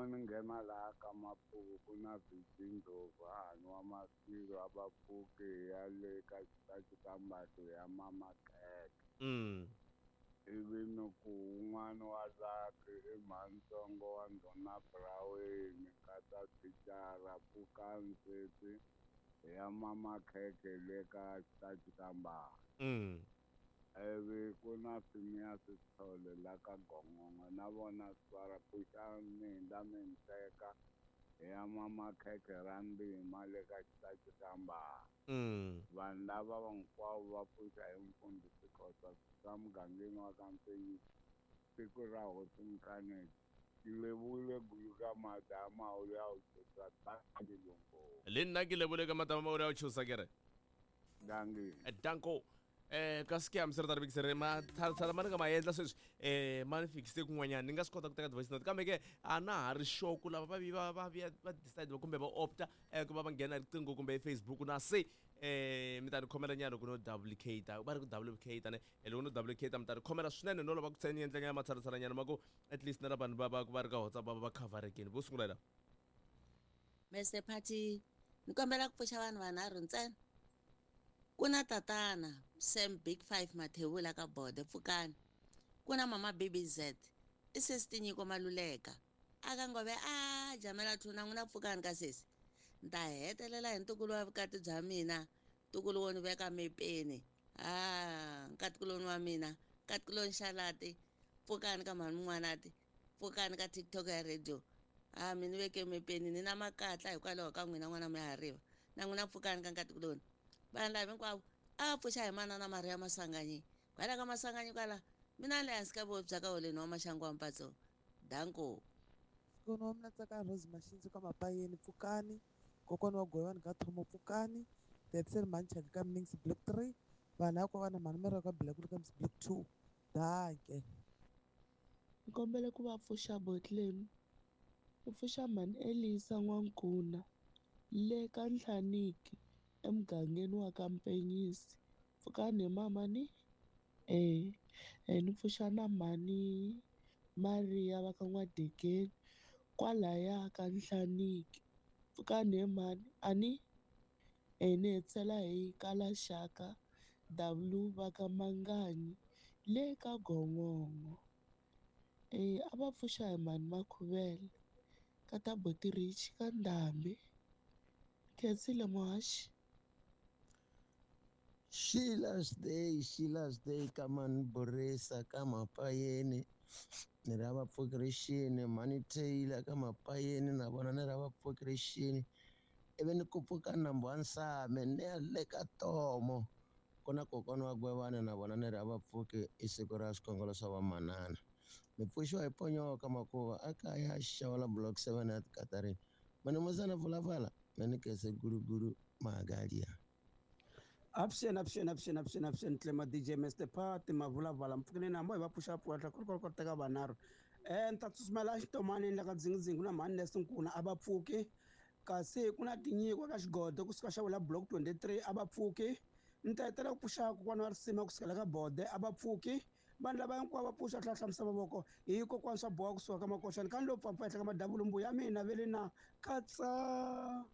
ni nghena laha ka Mapuku ku na VG Ndlovu hahani wa Masilo a va pfuki hi ya le ka xitachi ka Mbatlo ya Mama Khekhe. Ivi ni ku wun'wani wa Lucky i mhanitsongo wa Ndhuna Braweni nkata thicara Pfukani Nseti hi ya Mama Khekhe le ka xitachi ka Mbatlo. Ivi ku na Phineas Sithole la ka Gongongo na vona svara pfuxani mi hundza mi ni teka hi ya Mama Khekhe ra ndima le ka xitachi ka Mbatlo. Vanhu lava hinkwavo va pfuxa hi mfundhisi Khosa swa mugangeni wa ka Mfenyi siku ra hosi Mkaneti ke lebohile guluka mata a maholo ya go tšhoša danki longo. Le nna ke lebole ka mata a maholo ya go tšhosa ke re. Danki. Danko. Ka scam se ri ta ri vikise ri matshalatshala ma ni nga ma endla sweswi ma ni fikise kun'wanyana ni nga swi kota ku teka ti-voice note kambe ke a na ha ri sure ku lava va vi va va vuya va decide kumbe va opta ku va va nghena riqingho kumbe Facebook na se mi ta ni khomela nyana loko no duplicate va ri ku duplicate ne loko no duplicate mi ta ni khomela swinene no lava ku ni endla nyana matshalatshala nyana ma ku at least na la vanhu va va va ri ka WhatsApp va va va coverekini vo sungula la. Mr Party ni kombela ku pfuxa vanhu vanharhu ntsena ku na tatana Sam Big Five Mathebula ka Bode pfukani ku na mama BBZ i sesi Tinyiko Maluleka aka Ngove a jamela thuna n'wina pfukani ka sesi ni ta hetelela hi ntukulu wa vukati bya mina ntukulu wo ni veka mepeni a nkatikuloni wa mina nkatikuloni xalati pfukani ka mhani mun'wanati pfukani ka TikTok ya radio a mi ni veke mepeni ni na makatla hikwalaho ka n'wina n'wana mihariva na n'wina pfukani ka nkatikuloni vanhu lava hinkwavo a va pfuxa hi manana Maria Masanganyi kwala ka Masanganyi kwala mina ni le hansi ka vohi bya ka holeni wa maxangu wa mpatso danko. Kokwana wa mina Tsakani Rose Maxinzi ka Mapayeni pfukani kokwana wa Govani ka Thomo pfukani Debsel Manchaka ka Mnings Block 3 vanhu hinkwavo na mhani Mary ka Black ka Block 2 danke. Ni kombela ku va pfuxa Botlam ni pfuxa mhani Elisa N'wankuna le ka Nhlaniki emugangeni wa ka Mpenyisi pfukani he mama ni ni pfuxa na mhani Maria va ka N'wadegeni kwalaya ka Nhlaniki pfukani he mhani a ni ni hetisela hi kala Xaka W va ka Manganyi le ka Gongongo a va pfuxa hi mhani Makhuvele ka ta Boti Rich ka Ndhambi Khensile muhaxi. Sheila's Day, Sheila's Day ka mani Borisa ka Mapayeni ni ra vapfukirixini mhani Taylor ka Mapayeni na vona ni ra vapfukirixini ivi ni ku pfuka nambu wa Nsame ni ya le ka Tomo ku na kokwana wa Gwevana na vona ni ra vapfuki i siku ra swikhongelo swa vamanana mi pfuxiwa hi ponyoka makuva a kaya xawala block 7 ya Katarini mani musana pfulapfala mani kese gulugulu magalia. Avuxeni avuxeni avuxeni avuxeni avuxeni Tlema DJ Mr Party mavulavala mpfukeni na mo hi va pfuxa pfuxa ku teka vanharhu ni ta tsutsumela xitomani la ka dzingidzingi ku na mhani Nesi Nkuna a va pfuki kasi ku na tinyiko ka xigodo kusuka xa wela block 23 a va pfuki ni ta hetelela ku pfuxa kokwana wa risima kusukela ka bode a va pfuki vanhu lava hinkwavo va pfuxa tlhela hlamusela mavoko hi kokwana swa boha kusuka ka makoxani ka ni lo pfapfa henhla ka madavulu mbuya mina ve le na katsa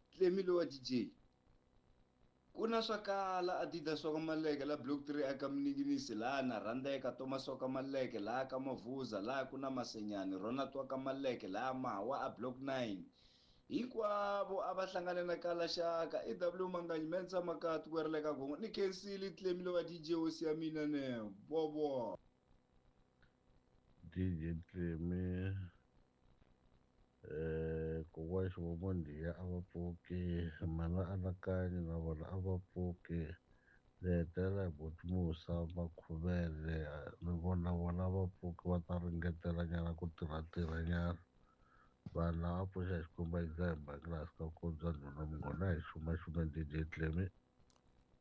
Tlemi lowa DJ ku na swa kala Adidas swa ka Maleke la block 3 aka Mninginisi laha na rhandeka Thomas wa ka Maleke laha ka Mavuza laha ku na Masenyani Ronald wa ka Maleke laha Mawa a block 9 hinkwavo a va hlangane na kala xaka i W Manganyi Mensa Makati ku ri le ka Gongo ni khensile Tlemi lowa DJ hosi ya mina ne bobo DJ Tlemi kokwana Xivomondhiya a va pfuki mhana Anakanyi na vona a va pfuki ni hetelela hi buti Musa Makhuvele ni vona vona va pfuki va ta ringetela nyana ku tirha nyana vanhu lava pfuxa hi xikwembu a yiza hi mhaka laha swi ka ku bya nhuna munghona hi xuma xuma DJ Tlemi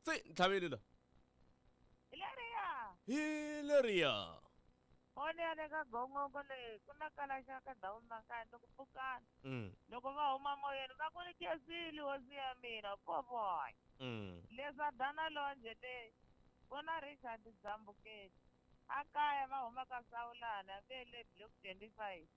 se ntlhaveli la hi leriya hi leriya foni ya le ka gongongo leyi ku na kala xa ka ndhawu makaya loko pfukana loko va huma moyeni va ku ni khensile hosi ya mina kovoy leswa dana lonje leyi ku na Richard Dzambuketi a kaya va huma ka Sawulana ve le block 25.